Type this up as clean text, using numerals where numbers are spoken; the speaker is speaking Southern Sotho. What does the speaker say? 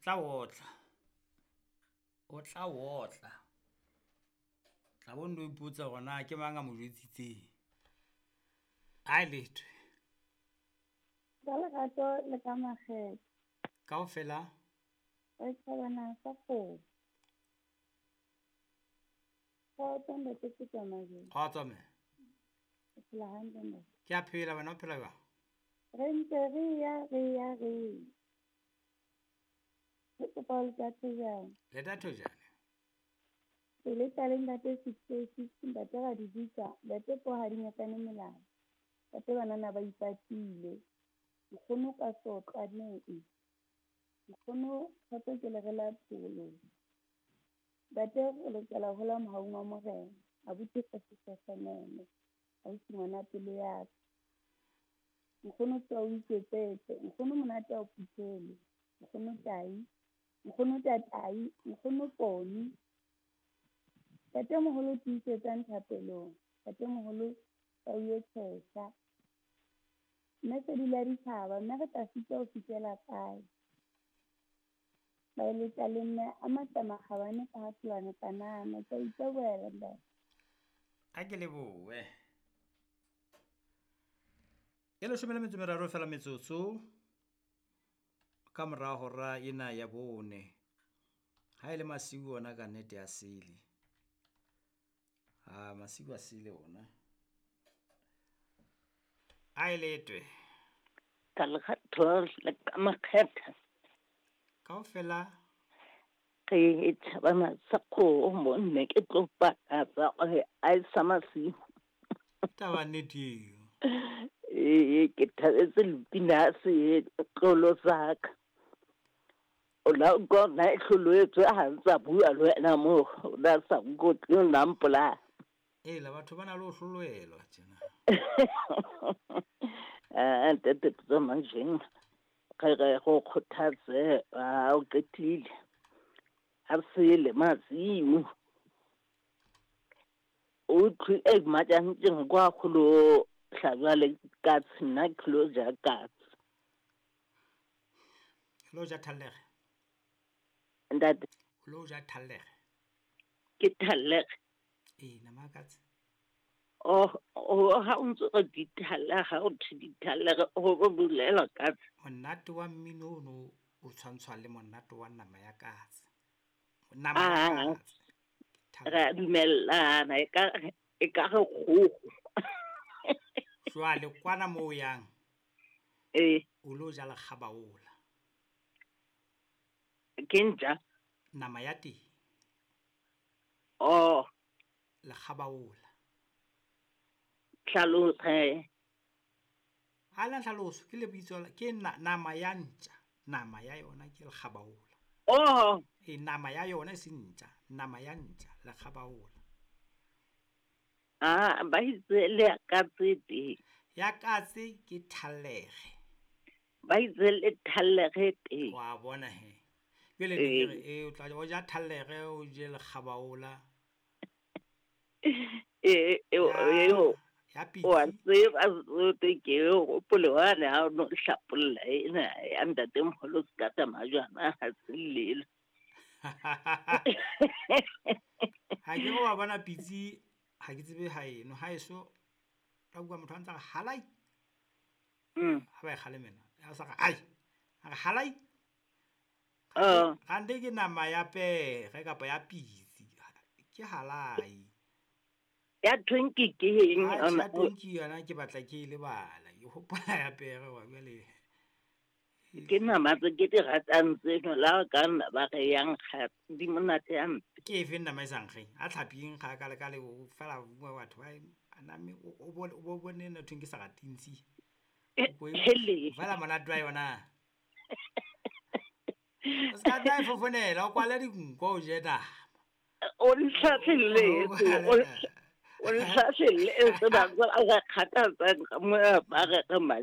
Tla otla. O tla otla. Tla bo ndo ipotsa hore na ke mang a mo jwetsitseng. A letho. Ka lerato le ka makgethe. Kaofela. Re tjhabana sa kgomo. Kgotso ntate Peter. Kgotso mme. O phela hantle ntate? Ke a phela, wena o phela jwang? Re ntse re ya re ya re. Re kopa ho leta thojana. Leta thojana. Pele tsa le ntate 686 ntate ra di bitsa, ntate po ha di nyakane melao. Ntate banana ba ipatile. Nkgono ka sotlwaneng. Nkgono kgotso ke le re la pholo. Ntate re lokela ho hola mohaung wa Morena. Abuti ka sesasanyane. Ausi ngwana pelo ya ka. Nkgono tsoha o iketsetse. Nkgono monate ha o phuthele. Nkgono tai. Nkgono tatai. Nkgono poni. Ntatemoholo tiisetsang thapelong. Ntatemoholo tau e tshehla. Mme sedi la ditjhaba, mme re tla sitwa ho fihlela kae? Baeletsa le mme a matla makgabane ka ha tholwana kanana. Ke a itebohela ntate. A ke lebohe. E 13 fela metsotso ka mora hora ena ya 4. Ha e le masiu ona ka nnete ya sele. Ha masiu a sele ona. A e letwe. Ka lerato le ka makgetha. Kaofela. Re tjhabana sa kgomo nne ke tlo pakatsa gore a e sa masiu. Taba nnete eo. Ee, ke thabetse lepina se tlolo sa ka. O la utlwa na e hloloetswe ha ntsa bua le wena moo, o la sa nkotle o la mpolaya. Ela batho ba na le ho hloloelwa tjena. Ah, ntate Pitso Manjeng, re re go kgothatse a o qetile. Ha sele masiu. O utlwi e matjantjeng kwa kgolo hlajwa le katse, nna ke lo ja katse. Lo ja thallege. Ntate. Lo ja thallege. Ke thallege. Ee, nama ya katse. Oh, ha o ntso re di thallege, ha o thwe di thallege, ho bolela katse. Monate wa mmino ono o tshwantshwa le monate wa nama ya katse. Nama ya katse. Re a dumellana, e ka re kgoho. Jwale kwana moo yang. Ee. O lo ja lekgabaola. Ke ntja? Nama ya teng. Oh. Lekgabaola. Hlalosa. Ha la hlaloso ke lebitso ke nama ya ntja. Nama ya yona ke lekgabaola. Oh. E nama ya yona e se ntja, nama ya ntja lekgabaola. Ah, ba itse le ya katse teng. Ya katse ke thallege. Ba itse le thallege teng. Wa bona he. Jwale ke re e o tla o ja thallege o je lekgabaola. E ya pitsi. Wa tseba tsote ke hopole wane ha o no hlapolla ena ya ntatemoholo se ka tsamaya ha se lelo. Ha ke wa bona pitsi ha ke tsebe ha eno ha eso ka bua motho a ntsa re halai. Ha ba e kgalemela a sa re ai a re halai. Kante ke nama ya pere kapa ya pitsi ke halai. Ya tonki ke eng? Ya tonki yona ke batla ke e lebala. Ke hopola ya pere wa jwale. Ke nama tse ke di ratang tseno la ka nna ba re yang ga di monate hampe. Ke efe nama e sa nkgeng? A tlhapi e nkga ka le ka le fela batho ba name o bone nthong ke sa ratintsi. Fela monate wa yona. O ska tla e fofonela o kwale dinko o je nama. O ntlhahleletse. O ntlhahleletse ba ba kgathatsang ka mo ba re re